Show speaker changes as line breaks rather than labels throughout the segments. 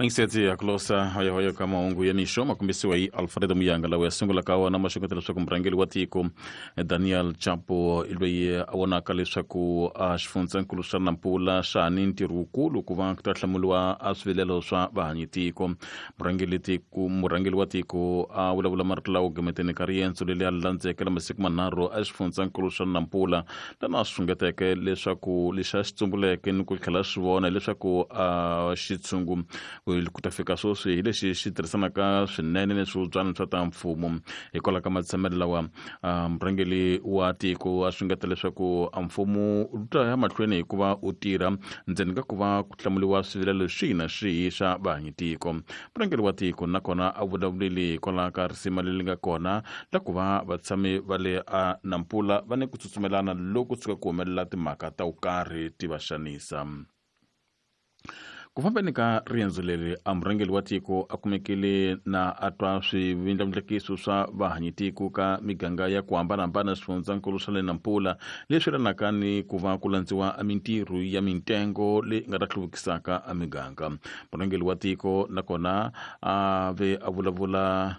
Mangisetsi ya kulosa hoyohoyo ka mahungu ya mixo ma kombisiwa hi Alfredo Muyanga lawa ya sungula ka wona ma xungeta leswaku murhangeri wa tiko Daniel Chapo i loyi a vonaka leswaku a xifundzankulu xa Nampula xa ha ni ntirho wukulu ku va ku ta hlamuriwa a swivilelo swa vahanyi tiko. Murhangeri wa tiko a vulavula marito lawa gimeteni ka riendzo leri a landzeke la masiku manharhu a xifundzankulu xa Nampula, lana a xungeteke leswaku lexi a xi tsumbuleke ni ku tlhela swi vona hileswaku a xitshungu ku ta fika sweswi hi lexi xi tirhisanaka swinene ni swivubyana swa ta mfumo. Hikwalaho ka matshamelo lawa, murhangeri wa tiko a xungeta leswaku a mfumo wu ta ya mahlweni hi ku va wu tirha ndzeni ka ku va ku hlamuriwa swivilelo swihi na swihi swa vahanyi tiko. Murhangeri wa tiko nakona a vulavulile hikwalaho ka risima leri nga kona la ku va vatshami va le a Nampula va ni ku tsutsumelana loko tshuka ku humelela timhaka ta vukarhi ti va xanisa. Ku fambeni ka riendzo leri, a murhangeri wa tiko a kumekile na a twa swivindlavindlakiso swa vahanyi tiko ka miganga ya ku hambanahambana swifundzankulu swa le Nampula leswi yelanaka ni ku va ku landziwa a mintirho ya mintengo leyi nga ta hluvukisaka a miganga. Murhangeri wa tiko nakona a ve a vulavula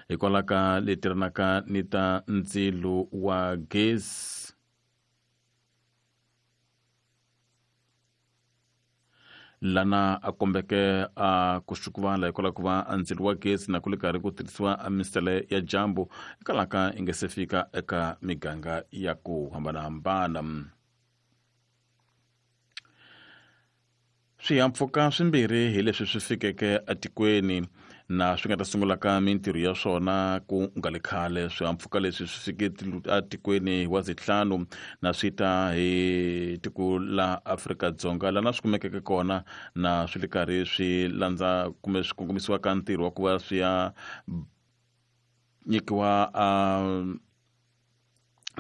hikwalaho ka leti tirhanaka ni ta ndzilo wa gezi lana a kombeke a ku xukuvala hikwalaho ku va a ndzilo wa gezi na ku le karhi ku tirhisiwa a misele ya dyambu hikwalaho ka yi nga se fika eka miganga ya ku hambanahambana. Swihahampfhuka swimbirhi hi leswi swi fikeke etikweni na swi nga ta sungula ka mintirho ya swona ku nga le khale. Swihahampfhuka leswi swi fike etikweni hi wa zitlhanu na swi ta hi tiko la Afrika-Dzonga lana swi kumekeke kona na swi le karhi swi landza kumbe swi kongomisiwa ka ntirho wa ku va swi ya nyikiwa a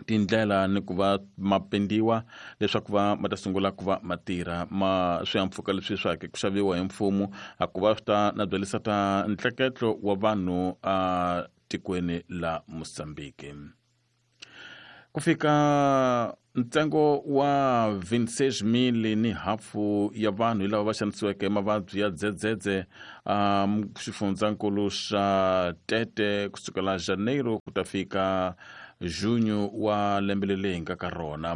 tindlela ni ku va ma pendiwa leswaku va ma ta sungula ku va ma tirha. Ma swihahampfhuka leswi swa ha ku xaviwa hi mfumo a ku va swi ta na byelisa ta ntleketlo wa vanhu a tikweni la Mozambique. Ku fika ntsengo wa 26,000 ni hafu ya vanhu hi lava va xanisiweke mavabyi ya dzedzedze a xifundzankulu xa Tete kusukela Janeiro ku ta fika Junho wa lembe leri hi nga ka rona.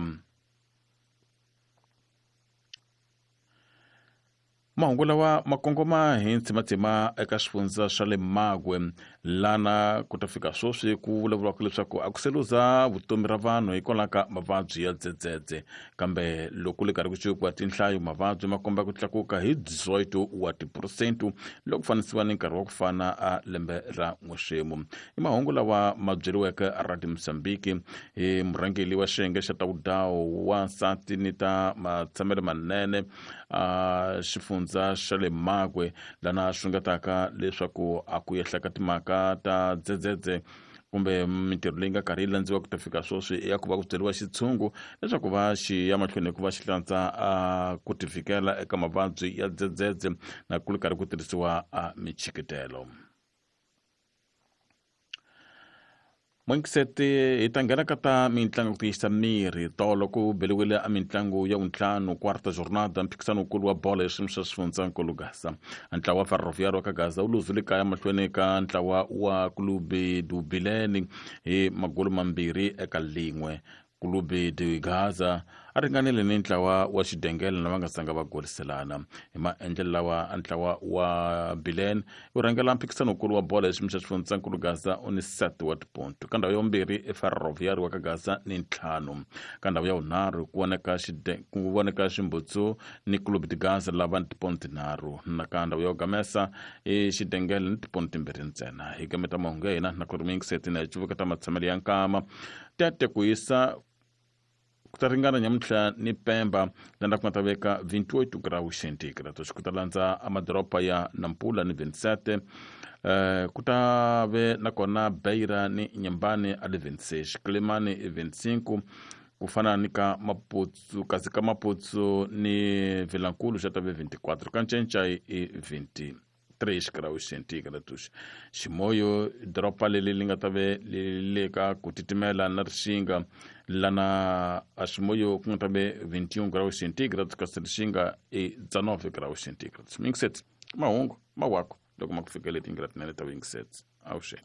Mahungu lawa ma kongoma hi ntsimatsima eka swifundza swa le Magwe, lana ku ta fika sweswi ku vulavuriwaka leswaku a ku se luza vutomi ra vanhu hikwalaho ka mavabyi ya dzedzedze. Kambe loko le karhi ku cikiwa tinhlayo, mavabyi ma komba ku tlakuka hi 18 wa tiphurosente loko fanisiwa ni nkarhi wa ku fana a lembe ra n'wexemu. I mahungu lawa ma byeriweke Radio Mozambique hi murhangeri wa xiyenge xa ta vudawu wa nsati ni ta matshamelo manene a xifundza xa le Magwe, lana xungetaka leswaku a ku yehla ka timhaka ta dzedzedze kumbe mintirho leyi nga karhi yi landziwa ku ta fika sweswi ya ku va ku byeriwa xitshungu leswaku va xi ya mahlweni hi ku va xi hlantswa a ku tivikela eka mavabyi ya dzedzedze na ku ri karhi ku tirhisiwa a michikitelo. N'wingiseti hi ta nghena ka ta mitlangu ku tiyisa miri. Tolo ku beliwile a mitlangu ya vuntlhanu quarta jornada mphikisano wukulu wa bolo ya xiyimo xa xifundzankulu Gaza. Ntlawa wa Ferroviário wa ka Gaza wu luzile kaya mahlweni ka ntlawa wa Clube do Bilene hi magolo mambirhi eka lin'we. Clube de Gaza a ringanile ni ntlawa wa Xidengele lava nga zanga va goliselana. Hi maendlelo lawa, ntlawa wa Bilene wu rhangela mphikisano-nkulu wa bolo ya xiyimo xa xifundzankulu Gaza u ni 7 wa tiponto. Ka ndhawu ya vumbirhi i Ferroviário wa ka Gaza ni ntlhanu. Ka ndhawu ya vunharhu ku voneka ku voneka Ximbutsu ni Clube de Gaza lava ni tiponto tinharhu. Na ka ndhawu ya ku gamesa i Xidengele ni tiponto timbirhi ntsena. Hi gameta mahungu ya hina na ku ri miyingiseti na hi cuvuka ta matshamelo ya nkama. Tete ku hisa ku ta ringana nyamuntlha ni Pemba landa ku nga ta veka 28 graus centigrade. Ku ta landza amadoroba ya Nampula ni 27, ku ta ve nakona Beira ni Nyambani a le 26, Quelimane i 25, ku fana ni ka Maputo, kasi ka Maputo ni Vilankulu xa ta ve 24, ka Ncencai i 20. 3 graus centigrados. Ximoyo doroba leri li nga ta ve li le ka ku titimela na rixinga Lana a Chimoio ku nga ta ve 21 graus centígrados, kasi Lixinga i 19 graus centígrados. Mingiseti mahungu mawako loko ma ku fikele tingira tinene ta Wingset. Avuxeni.